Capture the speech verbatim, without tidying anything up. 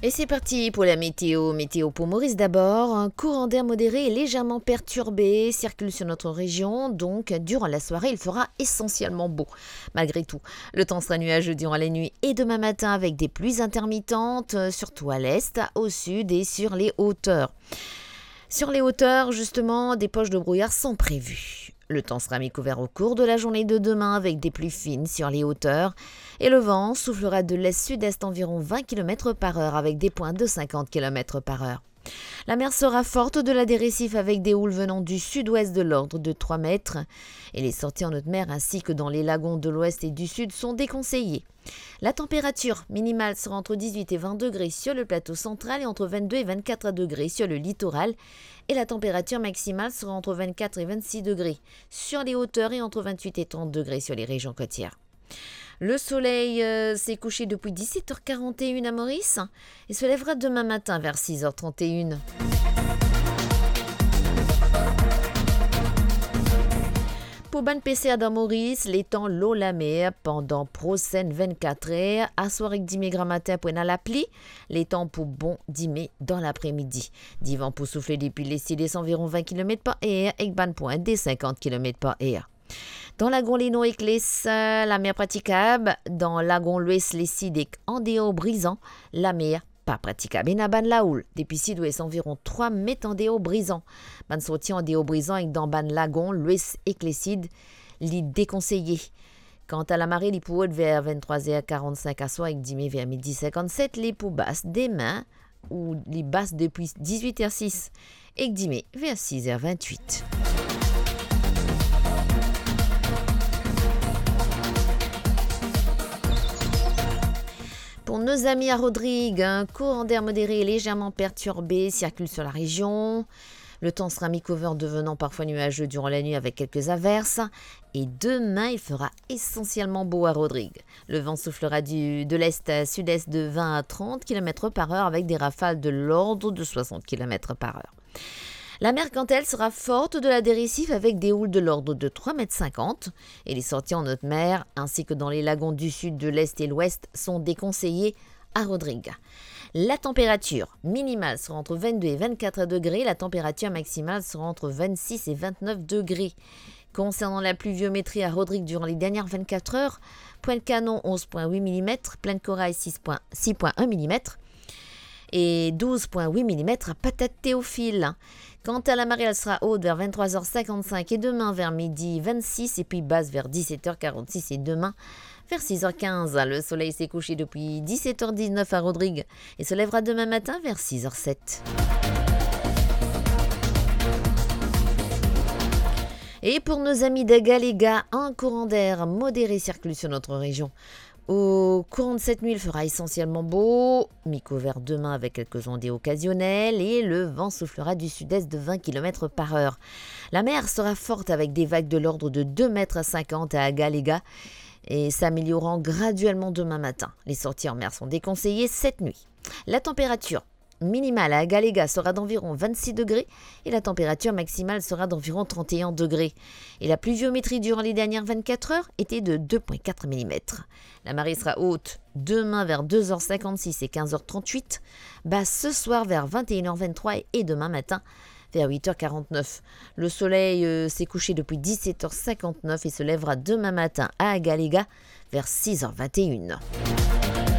Et c'est parti pour la météo. Météo pour Maurice d'abord. Un courant d'air modéré et légèrement perturbé circule sur notre région. Donc, durant la soirée, il fera essentiellement beau. Malgré tout, le temps sera nuageux durant la nuit et demain matin avec des pluies intermittentes, euh, surtout à l'est, au sud et sur les hauteurs. Sur les hauteurs, justement, des poches de brouillard sont prévues. Le temps sera mi-couvert au cours de la journée de demain avec des pluies fines sur les hauteurs et le vent soufflera de l'est-sud-est environ vingt kilomètres par heure avec des pointes de cinquante kilomètres par heure. La mer sera forte au-delà des récifs avec des houles venant du sud-ouest de l'ordre de trois mètres et les sorties en haute mer ainsi que dans les lagons de l'ouest et du sud sont déconseillées. La température minimale sera entre dix-huit et vingt degrés sur le plateau central et entre vingt-deux et vingt-quatre degrés sur le littoral. Et la température maximale sera entre vingt-quatre et vingt-six degrés sur les hauteurs et entre vingt-huit et trente degrés sur les régions côtières. Le soleil, euh, s'est couché depuis dix-sept heures quarante et une à Maurice et se lèvera demain matin vers six heures trente et une. Pou bann peser dan Moris, letan lor lamer pandan prosenn vennkat er, aswar ek dime gramatin pou ena lapli, letan pou bon dime dan lapre-midi. Divan pou soufle depi lesid-est anviron vin kilomet par er ek bann pwint de sinkant kilomet par er. Dan lagon Lenor ek Les, lamer pratikab. Dan lagon Lwes, Lesid ek andeor Brizan, lamer pa pratikab. Ena bann laoul depi sidwes anviron trwa met andeor Brizan. Bann sorti andeor Brizan ek dan bann lagon Lwes ek Lesid, li dekonseye. Kanta lamare, li pou ot ver venntrwa er karannsink aswar ek dime ver midi sinkannset, li pou bas demin, ou li bas depi dizwit er sis ek dime ver sis er vintwit. Pour nos amis à Rodrigues, un courant d'air modéré et légèrement perturbé circule sur la région. Le temps sera mi-couvert devenant parfois nuageux durant la nuit avec quelques averses. Et demain, il fera essentiellement beau à Rodrigues. Le vent soufflera du, de l'est à sud-est de vingt à trente kilomètres par heure avec des rafales de l'ordre de soixante kilomètres par heure. La mer, quant à elle, sera forte au-delà des récifs avec des houles de l'ordre de trois mètres cinquante et les sorties en haute mer ainsi que dans les lagons du sud, de l'est et l'ouest sont déconseillées à Rodrigues. La température minimale sera entre vingt-deux et vingt-quatre degrés, la température maximale sera entre vingt-six et vingt-neuf degrés. Concernant la pluviométrie à Rodrigues durant les dernières vingt-quatre heures, Pointe-Canon, onze point huit millimètres, Plaine-Corail, six point, six point un millimètres et douze point huit millimètres à Patate-Théophile. Quant à la marée, elle sera haute vers vingt-trois heures cinquante-cinq et demain vers midi vingt-six et puis basse vers dix-sept heures quarante-six et demain vers six heures quinze. Le soleil s'est couché depuis dix-sept heures dix-neuf à Rodrigues et se lèvera demain matin vers six heures sept. Et pour nos amis de Galega, un courant d'air modéré circule sur notre région. Au courant de cette nuit, il fera essentiellement beau, mi-couvert demain avec quelques ondées occasionnelles et le vent soufflera du sud-est de vingt kilomètres par heure. La mer sera forte avec des vagues de l'ordre de deux mètres cinquante à Galega et s'améliorant graduellement demain matin. Les sorties en mer sont déconseillées cette nuit. La température minimale à Galega sera d'environ vingt-six degrés et la température maximale sera d'environ trente et un degrés. Et la pluviométrie durant les dernières vingt-quatre heures était de deux point quatre millimètres. La marée sera haute demain vers deux heures cinquante-six et quinze heures trente-huit, basse ce soir vers vingt et une heures vingt-trois et demain matin vers huit heures quarante-neuf. Le soleil, euh, s'est couché depuis dix-sept heures cinquante-neuf et se lèvera demain matin à Galega vers six heures vingt et une.